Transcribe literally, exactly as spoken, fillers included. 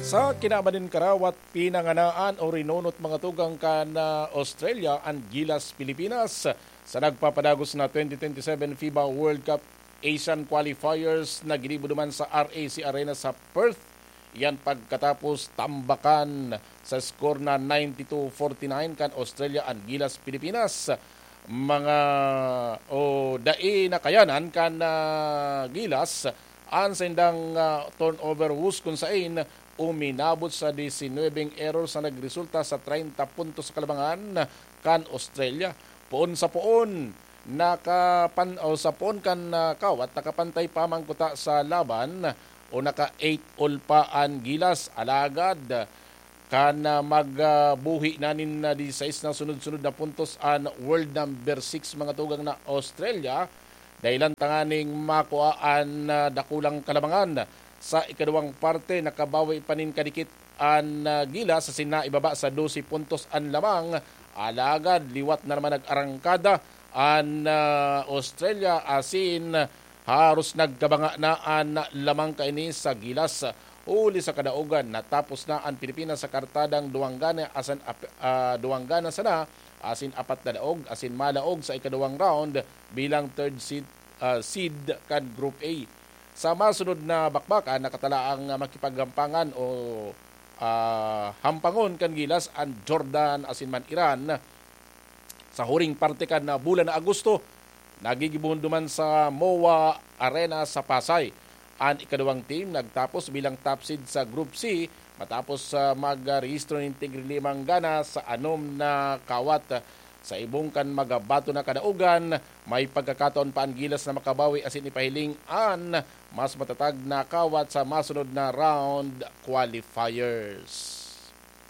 Sa kinaban nin karawat, pinanganaan o rinunot mga tugang kan ah, Australia an Gilas Pilipinas sa nagpapadagos na twenty twenty-seven FIBA World Cup Asian Qualifiers na ginibo duman sa RAC Arena sa Perth. Yan pagkatapos tambakan sa score na ninety-two forty-nine kan Australia an Gilas Pilipinas. Mga o dai nakayanan kan ah, Gilas an saindang ah, turnover woes kun sain uminabot sa disinwebeng error sa nagresulta sa treinta puntos sa kalabangan kan Australia. Poon sa poon, nakapan o sa poon kan ah, kawat, nakapantay pa man kuta sa laban o naka eight all pa an Gilas. Alagad kan ah, magbuhi na nin ah, disisais na sunod-sunod na puntos an world number six mga tugang na Australia, dahilan tanganing makua an ah, dakulang kalabangan. Sa ikaduwang parte, nakabawi pa nin kadikit an ah, Gilas asin naibaba sa dose puntos an lamang. Alagad liwat na naman nag-arangkada an ah, Australia asin haros nagkabanga na an lamang kaini sa Gilas. Huli sa kadaogan, natapos na an Pilipinas sa kartadang duwang gana asin ap- ah, duwang gana sana asin apat na daog asin malaog sa ikaduwang round bilang third seed, ah, seed kan Group A. Sa masunod na bakbakan, nakatala ang makipaghampangan o ah, hampangon kan Gilas an Jordan asin man Iran. Sa huring parte kan ah, bulan na Agosto, nagigibohon duman sa MOA Arena sa Pasay. An ikaduwang team nagtapos bilang top seed sa Group C matapos sa magrehistro nin tigri limang gana sa anom na kawat. Sa ibong kan magabato na kadaogan, may pagkakataon pa an Gilas na makabawi asin ipahiling an mas matatag na kawat sa masunod na round qualifiers.